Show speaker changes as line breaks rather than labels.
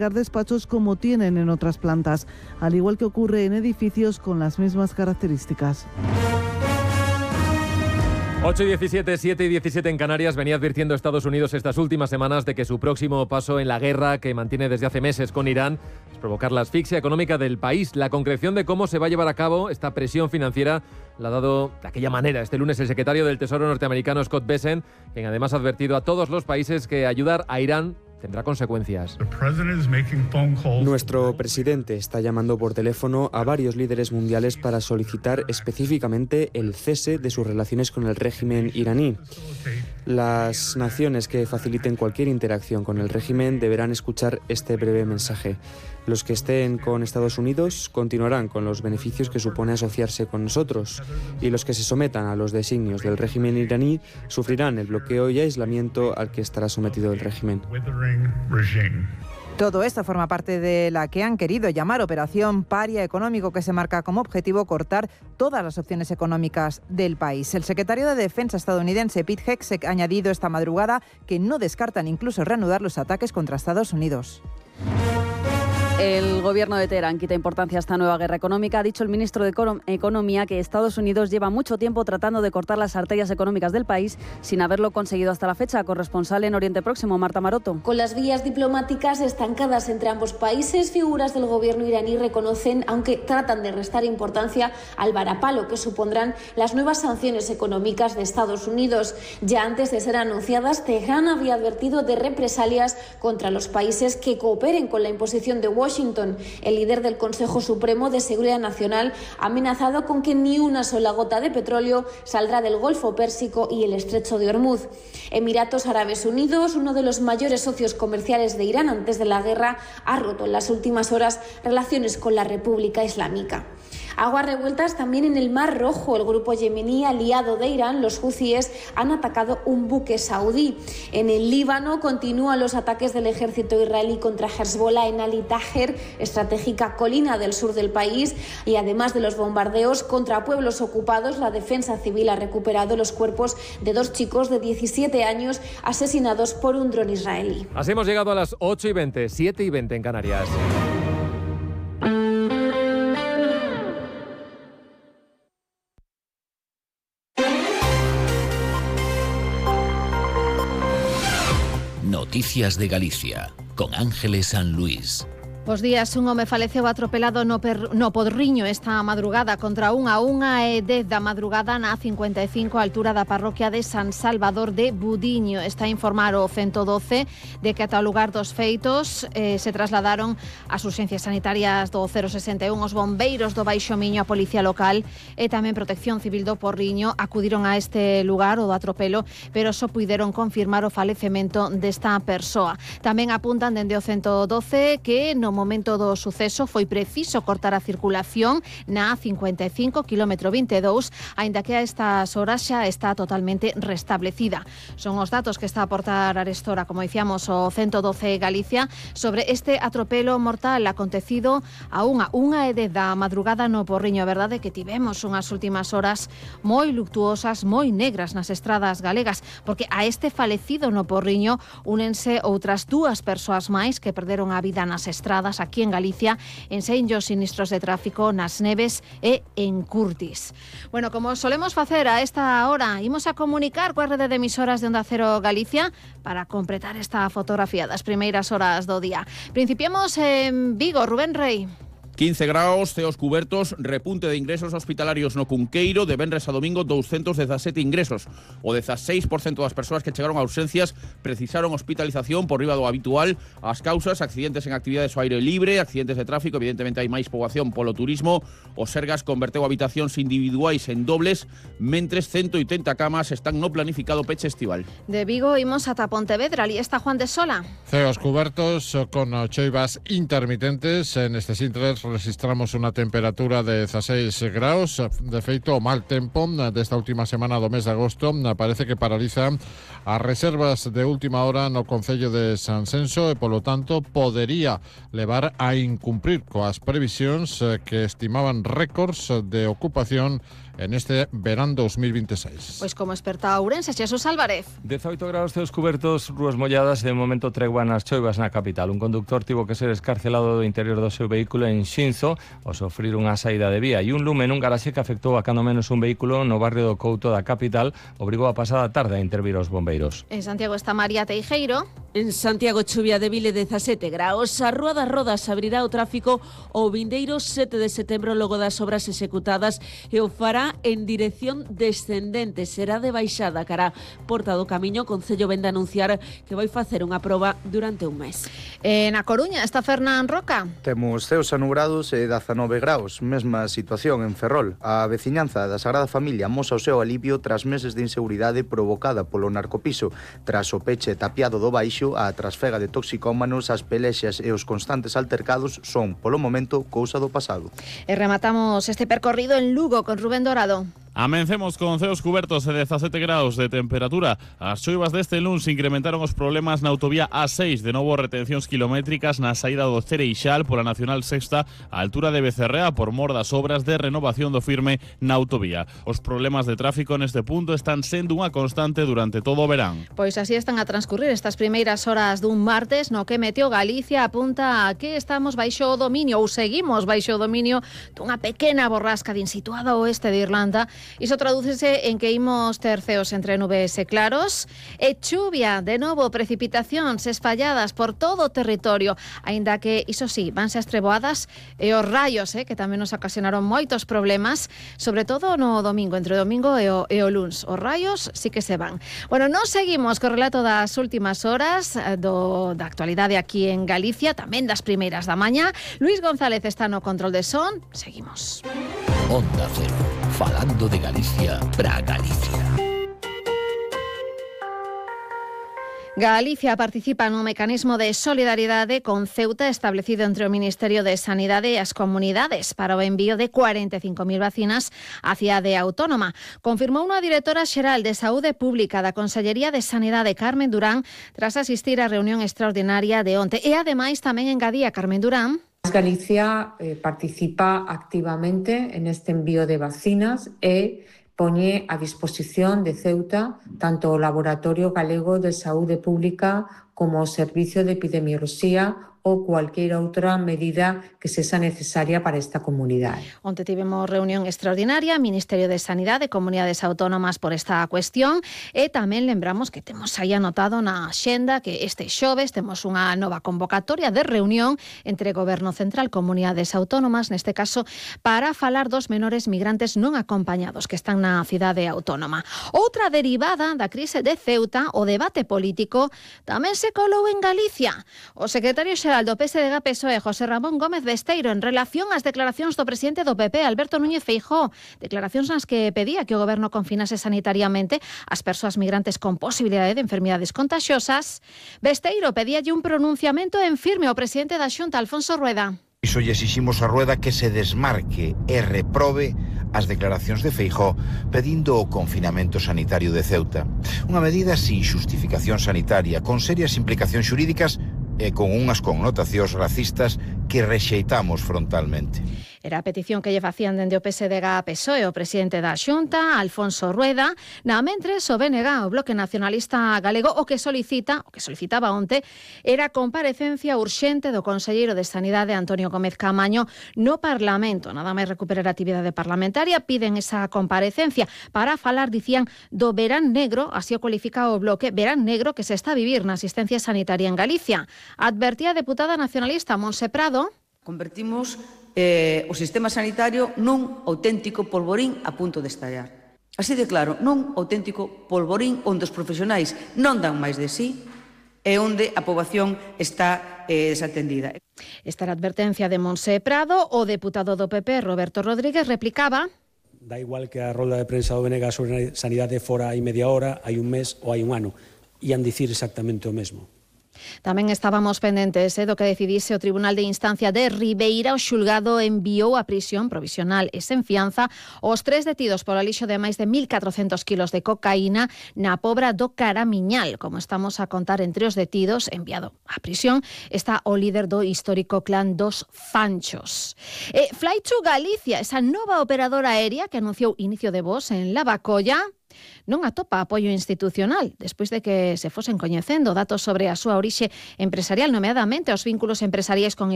despachos como tienen en otras plantas, al igual que ocurre en edificios con las mismas características.
8:17, 7:17 en Canarias. Venía advirtiendo Estados Unidos estas últimas semanas de que su próximo paso en la guerra que mantiene desde hace meses con Irán es provocar la asfixia económica del país. La concreción de cómo se va a llevar a cabo esta presión financiera la ha dado de aquella manera este lunes el secretario del Tesoro norteamericano Scott Bessent, quien además ha advertido a todos los países que ayudar a Irán tendrá consecuencias.
Nuestro presidente está llamando por teléfono a varios líderes mundiales para solicitar específicamente el cese de sus relaciones con el régimen iraní. Las naciones que faciliten cualquier interacción con el régimen deberán escuchar este breve mensaje. Los que estén con Estados Unidos continuarán con los beneficios que supone asociarse con nosotros, y los que se sometan a los designios del régimen iraní sufrirán el bloqueo y aislamiento al que estará sometido el régimen.
Todo esto forma parte de la que han querido llamar Operación Paria Económico, que se marca como objetivo cortar todas las opciones económicas del país. El secretario de Defensa estadounidense Pete Hegseth ha añadido esta madrugada que no descartan incluso reanudar los ataques contra Estados Unidos.
El gobierno de Teherán quita importancia a esta nueva guerra económica. Ha dicho el ministro de Economía que Estados Unidos lleva mucho tiempo tratando de cortar las arterias económicas del país sin haberlo conseguido hasta la fecha. Corresponsal en Oriente Próximo, Marta Maroto.
Con las vías diplomáticas estancadas entre ambos países, figuras del gobierno iraní reconocen, aunque tratan de restar importancia al varapalo que supondrán las nuevas sanciones económicas de Estados Unidos. Ya antes de ser anunciadas, Teherán había advertido de represalias contra los países que cooperen con la imposición de Washington. El líder del Consejo Supremo de Seguridad Nacional ha amenazado con que ni una sola gota de petróleo saldrá del Golfo Pérsico y el Estrecho de Hormuz. Emiratos Árabes Unidos, uno de los mayores socios comerciales de Irán antes de la guerra, ha roto en las últimas horas relaciones con la República Islámica. Aguas revueltas también en el Mar Rojo. El grupo yemení aliado de Irán, los huthíes, han atacado un buque saudí. En el Líbano continúan los ataques del ejército israelí contra Hezbollah en Ali Taher, estratégica colina del sur del país, y además de los bombardeos contra pueblos ocupados, la defensa civil ha recuperado los cuerpos de 2 chicos de 17 años asesinados por un dron israelí.
Así hemos llegado a las 8:20, 7:20 en Canarias.
Noticias de Galicia, con Ángeles San Luis.
Bos días, un home faleceu atropelado no Podriño esta madrugada contra a 1:10 da madrugada na A55 a altura da parroquia de San Salvador de Budiño. Está a informar o 112 de que ata o lugar dos feitos se trasladaron as urxencias sanitarias do 061, os bombeiros do Baixo Miño, a Policía Local e tamén Protección Civil do Porriño acudiron a este lugar, o do atropelo, pero só puideron confirmar o falecemento desta persoa. Tamén apuntan dende o 112 que no momento do suceso foi preciso cortar a circulación na A55, kilómetro 22, aínda que a estas horas xa está totalmente restablecida. Son os datos que está a aportar arestora, como dicíamos, o 112 Galicia sobre este atropelo mortal acontecido a 1:10 da madrugada no Porriño. A verdade é que tivemos unhas últimas horas moi luctuosas, moi negras nas estradas galegas, porque a este falecido no Porriño únense outras 2 persoas máis que perderon a vida nas estradas aquí en Galicia, en senllos sinistros de tráfico nas Neves e en Curtis. Bueno, como solemos facer a esta hora, imos a comunicar coa rede de emisoras de Onda Cero Galicia para completar esta fotografía das primeiras horas do día. Principiemos en Vigo, Rubén Rei.
15 graus, ceos cubertos, repunte de ingresos hospitalarios no Cunqueiro, de venres a domingo 217 ingresos. O 16% das persoas que chegaron a urxencias precisaron hospitalización por riba do habitual. As causas, accidentes en actividades ao aire libre, accidentes de tráfico, evidentemente hai máis poboación polo turismo. O Sergas converteu habitacións individuais en dobles, mentres 180 camas están no planificado peche estival.
De Vigo imos ata Pontevedra, ali está Juan de Sola.
Ceos cubertos con choivas intermitentes. En estes intres registramos unha temperatura de 16 graus. De feito, o mal tempo desta última semana do mes de agosto parece que paraliza as reservas de última hora no concello de Sanxenxo e, polo tanto, podería levar a incumprir coas previsións que estimaban récords de ocupación en este verán 2026.
Pois como experta Ourense, Xesús Álvarez.
18 grados ceos cubertos, rúas molladas e de momento tregua nas choivas na capital. Un conductor tivo que ser escarcelado do interior do seu vehículo en Xinzo ao sofrir unha saída de vía, e un lume nun garaxe que afectou a cando menos un vehículo no barrio do Couto da capital obrigou a pasada tarde a intervir os bombeiros.
En Santiago está María Teijeiro.
En Santiago chuvia débil e 17 graus. A Rúa das Rodas abrirá o tráfico o vindeiro 7 de setembro logo das obras executadas e o fará en dirección descendente. Será de baixada cara Porta do Camiño. O Concello vende a anunciar que vai facer unha proba durante un mes.
Na Coruña está Fernán Roca.
Temos ceos anubrados e 19 graus. Mesma situación en Ferrol. A veciñanza da Sagrada Familia mosa o seu alivio tras meses de inseguridade provocada polo narcopiso. Tras o peche tapiado do baixo, a trasfega de toxicómanos, as pelexas e os constantes altercados son, polo momento, cousa do pasado.
E rematamos este percorrido en Lugo con Rubén Dorado.
Amencemos con ceos cubertos e 17 graus de temperatura. As choivas deste luns incrementaron os problemas na autovía A6, de novo retencións kilométricas na saída do Cereixal pola Nacional Sexta á altura de Becerrea por mor das obras de renovación do firme na autovía. Os problemas de tráfico neste punto están sendo unha constante durante todo o verán.
Pois así están a transcurrir estas primeiras horas dun martes no que Meteo Galicia apunta a que estamos baixo o dominio ou seguimos baixo o dominio dunha pequena borrasca situada ao oeste de Irlanda. Iso tradúcese en que imos ter ceos entre nubes e claros e chuvia, de novo precipitacións espalladas por todo o territorio, aínda que, iso sí, vanse as treboadas e os raios, que tamén nos ocasionaron moitos problemas, sobre todo no domingo, entre o domingo e o luns. Os raios sí que se van. Bueno, nos seguimos co relato das últimas horas da actualidade aquí en Galicia, tamén das primeiras da mañá. Luis González está no control de son. Seguimos.
Onda Cero, falando de Galicia para Galicia.
Galicia participa no mecanismo de solidariedade con Ceuta establecido entre o Ministerio de Sanidade e as comunidades para o envío de 45.000 vacinas á cidade autónoma. Confirmou unha directora xeral de Saúde Pública da Consellería de Sanidade, Carmen Durán, tras asistir á reunión extraordinaria de onte. E ademais tamén engadía Carmen Durán.
Galicia participa activamente en este envío de vacinas e poñe a disposición de Ceuta tanto o Laboratorio Galego de Saúde Pública como o Servicio de Epidemioloxía ou cualquier outra medida que sexa necesaria para esta comunidade.
Onte tivemos reunión extraordinaria, Ministerio de Sanidade e Comunidades Autónomas por esta cuestión, e tamén lembramos que temos aí anotado na axenda que este xoves temos unha nova convocatoria de reunión entre Goberno Central, Comunidades Autónomas, neste caso para falar dos menores migrantes non acompañados que están na cidade autónoma. Outra derivada da crise de Ceuta, o debate político, tamén se colou en Galicia. O secretario xeral do PSDG-PSOE, José Ramón Gómez Besteiro, en relación ás declaracións do presidente do PP, Alberto Núñez Feijóo, declaracións nas que pedía que o goberno confinase sanitariamente as persoas migrantes con posibilidade de enfermidades contaxiosas. Besteiro pedíalle un pronunciamento en firme ao presidente da Xunta, Alfonso Rueda.
Iso lle exiximos a Rueda que se desmarque e reprobe as declaracións de Feijóo pedindo o confinamento sanitario de Ceuta. Unha medida sin xustificación sanitaria, con serias implicacións xurídicas e con unhas connotacións racistas que rexeitamos frontalmente.
Era a petición que lle facían dende o PSDG-PSOE o presidente da Xunta, Alfonso Rueda. Na mentres, o BNG, o Bloque Nacionalista Galego, o que solicitaba onte, era a comparecencia urxente do conselleiro de Sanidade, Antonio Gómez Caamaño, no Parlamento. Nada máis recuperar a actividade parlamentaria, piden esa comparecencia para falar, dicían, do verán negro, así o cualifica o Bloque, verán negro que se está a vivir na asistencia sanitaria en Galicia. Advertía a deputada nacionalista Montse Prado.
Convertimos o sistema sanitario nun auténtico polvorín a punto de estallar. Así de claro, nun auténtico polvorín onde os profesionais non dan máis de sí e onde a poboación está desatendida.
Esta era a advertencia de Montse Prado. O deputado do PP, Roberto Rodríguez, replicaba:
Da igual que a rolda de prensa do BNG sobre sanidade fora hai media hora, hai un mes ou hai un ano. Ian dicir exactamente o mesmo.
Tamén estábamos pendentes do que decidise o Tribunal de Instancia de Ribeira. O xulgado enviou a prisión provisional e sen fianza os 3 detidos polo alixo de máis de 1.400 kilos de cocaína na Pobra do Caramiñal. Como estamos a contar, entre os detidos enviado á prisión está o líder do histórico clan dos Fanchos. Fly to Galicia, esa nova operadora aérea que anunciou inicio de voos en Lavacolla, non atopa apoio institucional despois de que se fosen coñecendo datos sobre a súa orixe empresarial, nomeadamente os vínculos empresariais con